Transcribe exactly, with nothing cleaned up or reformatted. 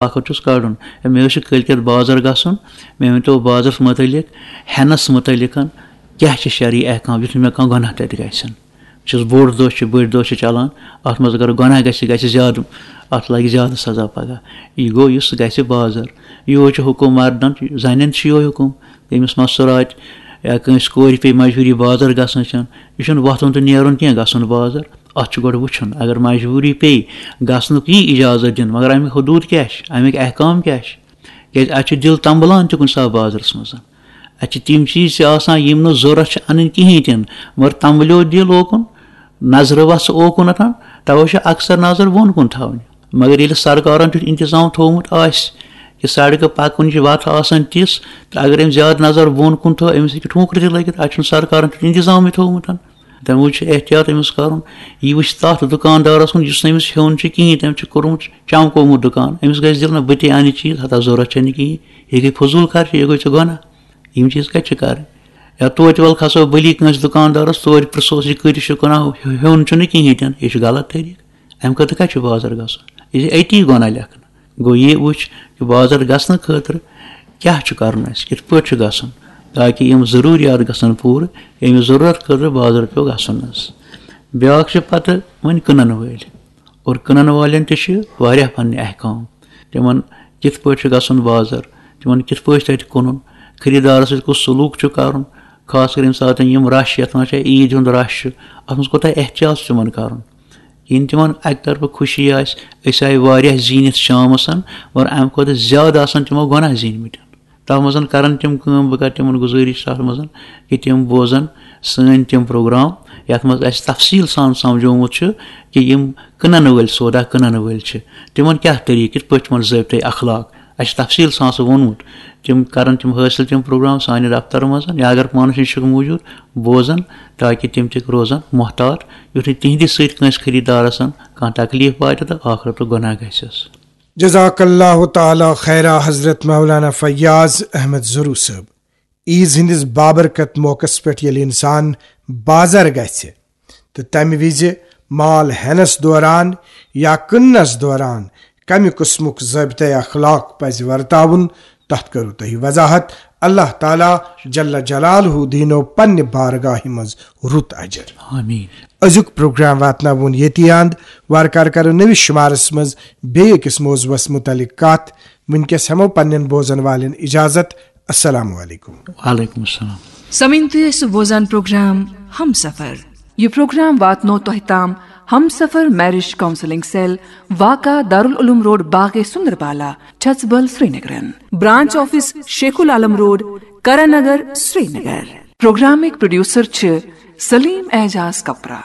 آخر چھُس کَڑُن۔ ہے، مےٚ حظ چھُ کٲلۍ کٮ۪تھ بازر گژھُن، مےٚ ؤنۍ تو بازرَس مُتعلِق، ہٮ۪نَس مُتعلِق کیٛاہ چھِ شرعی احکام، یُتھ نہٕ مےٚ کانٛہہ گۄناہ تَتہِ گژھن۔ بہٕ چھُس بوٚڑ دۄہ چھِ، بٔڑۍ دۄہ چھِ چلان، اَتھ منٛز اگر گۄناہ گژھِ، گژھِ زیادٕ، اَتھ لَگہِ زیادٕ سزا پگاہ۔ یہِ گوٚو یُس گژھِ بازر۔ یِہوٚے چھُ حُکُم مردَن، زَنٮ۪ن چھُ یِہوٚے حُکُم، ییٚمِس مَستُر آسہِ یا کٲنٛسہِ کورِ پیٚیہِ مجبوٗری بازر گژھنٕچ، یہِ چھُنہٕ وۄتھُن تہٕ نیرُن کینٛہہ، گژھُن بازر۔ اَتھ چھُ گۄڈٕ وٕچھُن، اگر مجبوٗری پیٚیہِ گژھنُک، یی اِجازت دِنہٕ، مگر اَمیُک حدوٗد کیٛاہ چھِ، اَمِکۍ احکام کیٛاہ چھِ؟ کیٛازِ اَتہِ چھُ دِل تنبلان تہِ کُنہِ ساتہٕ بازرَس منٛز۔ اَتہِ چھِ تِم چیٖز تہِ آسان، یِم نہٕ ضوٚرَتھ چھِ اَنٕنۍ کِہیٖنۍ تہِ نہٕ، مگر تنبلیو دِل اوکُن، نظرِ وَژھٕ اوکُنَتھ، تَوَے چھِ اکثر نظر بۄن کُن تھاوٕنۍ۔ مگر ییٚلہِ سرکارَن تیُتھ انتظام تھوٚومُت آسہِ کہِ سڑکہٕ پَکُن چھِ، وَتھ آسان تِژھ، تہٕ اگر أمۍ زیادٕ نظر بۄن کُن تھٲو، أمِس ہیٚکہِ ٹھونٛکرٕ تہِ لٔگِتھ۔ اَتہِ چھُنہٕ سرکارَن تیُتھ انتظامٕے تھوٚومُت۔ تَمہِ موٗجوٗب چھُ احتیاط أمِس کَرُن۔ یہِ وٕچھِ تَتھ دُکاندارَس کُن، یُس نہٕ أمِس ہیوٚن چھُ کِہیٖنۍ، تٔمۍ چھُ کوٚرمُت چمکومُت دُکان، أمِس گژھِ دِل نہ بہٕ تہِ اَنہٕ چیٖز، ہَتہ ضوٚرَتھ چھَنہٕ کِہیٖنۍ، یہِ گٔے فضوٗل خرچی، یہِ گوٚو ژےٚ گۄناہ۔ یِم چیٖز کَتہِ چھِ کَرٕنۍ؟ یا توتہِ وَل کھسو بٔلی کٲنٛسہِ دُکاندارَس، توتہِ پرٛژھوس، یہِ کۭتِس چھُ کٕنان، ہُہ ہیوٚن چھُنہٕ کِہیٖنۍ تہِ نہٕ، یہِ چھُ غلط طریٖقہٕ۔ اَمہِ خٲطرٕ کَتہِ چھُ بازر گژھُن؟ یہِ چھِ أتی گۄناہ لیکھنہٕ۔ گوٚو، یہِ وٕچھ کہِ بازر گژھنہٕ خٲطرٕ کیٛاہ چھُ کَرُن اَسہِ، کِتھ پٲٹھۍ چھُ گژھُن، تاکہِ یِم ضروٗریات گژھن پوٗرٕ، ییٚمہِ ضروٗرت خٲطرٕ بازر پیوٚو گژھُن حظ۔ بیٛاکھ چھِ پَتہٕ وۄنۍ کٕنَن وٲلۍ، اور کٕنَن والٮ۪ن تہِ چھِ واریاہ پَنٕنۍ احکام۔ تِمَن کِتھ پٲٹھۍ چھُ گژھُن بازر، تِمَن کِتھ پٲٹھۍ چھُ تَتہِ کٕنُن، خریٖدارَس سۭتۍ کُس سلوٗک چھُ کَرُن، خاص کر ییٚمہِ ساتہٕ یِم رَش، یَتھ وَنان چھِ عیٖد ہُنٛد رَش چھُ، اَتھ منٛز کوٗتاہ احتیاط چھُ تِمَن کَرُن۔ یِم تِمَن اَکہِ طرفہٕ خوشی آسہِ، أسۍ آیہِ واریاہ زیٖنِتھ شامَس، مگر اَمہِ کھۄتہٕ زیادٕ آسَن تِمو گۄناہ زیٖنمٕتۍ۔ تَتھ منٛز کَرَن تِم کٲم، بہٕ کَرٕ تِمَن گُزٲرِش تَتھ منٛز کہِ تِم بوزَن سٲنۍ تِم پروگرام، یَتھ منٛز اَسہِ تفصیٖل سان سَمجھومُت چھُ کہِ یِم کٕنَن وٲلۍ، سودا کٕنَن وٲلۍ چھِ، تِمَن کیٛاہ طریٖقہٕ، کِتھ پٲٹھۍ تِمَن ضٲبطے اخلاق۔ اَسہِ چھُ تفصیٖل سان سُہ ووٚنمُت۔ تِم کَرَن تِم حٲصِل، تِم پروگرام سانہِ دفتر منٛز، یا اگر پانَس نِش چھُکھ موٗجوٗد، بوزَن، تاکہِ تِم تہِ روزَن محتاط، یُتھ نہٕ تِہِنٛدِ سۭتۍ کٲنٛسہِ خریٖدارَس کانٛہہ تکلیٖف واتہِ تہٕ ٲخرَتُک گۄناہ گژھٮ۪س۔ جزاک اللہ تعالیٰ خیرا حضرت مولانا فیاض احمد ضروٗ صٲب۔ عیٖذ ہٕنٛدِس بابرکت موقعس پٮ۪ٹھ ییٚلہِ اِنسان بازر گژھِ تہٕ تَمہِ وِزِ مال ہٮ۪نَس دوران یا کٕننَس دوران کَمہِ قٕسمُک ضٲبطہٕ اخلاق پَزِ ورتاوُن، تَتھ کٔرٕو تۄہہِ وضاحت۔ اللہ تعالیٰ جل جلالہ دیٖنو پننہِ بارگاہہِ منٛز رُت اجر۔ آمین۔ أزیُک پروگرام واتناوون ییٚتی اند۔ وارٕ کارٕ کرو نٔوِس شُمارس منٛز بیٚیہِ أکِس موضوعس مُتعلق کتھ۔ وٕنکیٚس ہٮ۪مو پننٮ۪ن بوزن والٮ۪ن اجازت۔ السلام علیکم۔ وعلیکم السلام۔ سمعین، تُہۍ ٲسِو بوزان پروگرام ہم سفر۔ یہِ پروگرام واتنو تۄہہِ تام ہم سفر میرج کاؤنسلنگ سیل، واقع دارالعلوم روڈ، باغ سندربالا، چھژبل، سرینگرن۔ برانچ آفس شیخ العالم روڈ، کرن نگر، سرینگر۔ پروگرامٕکۍ پروڈیوسر چھِ سلیم اعجاز کپرا۔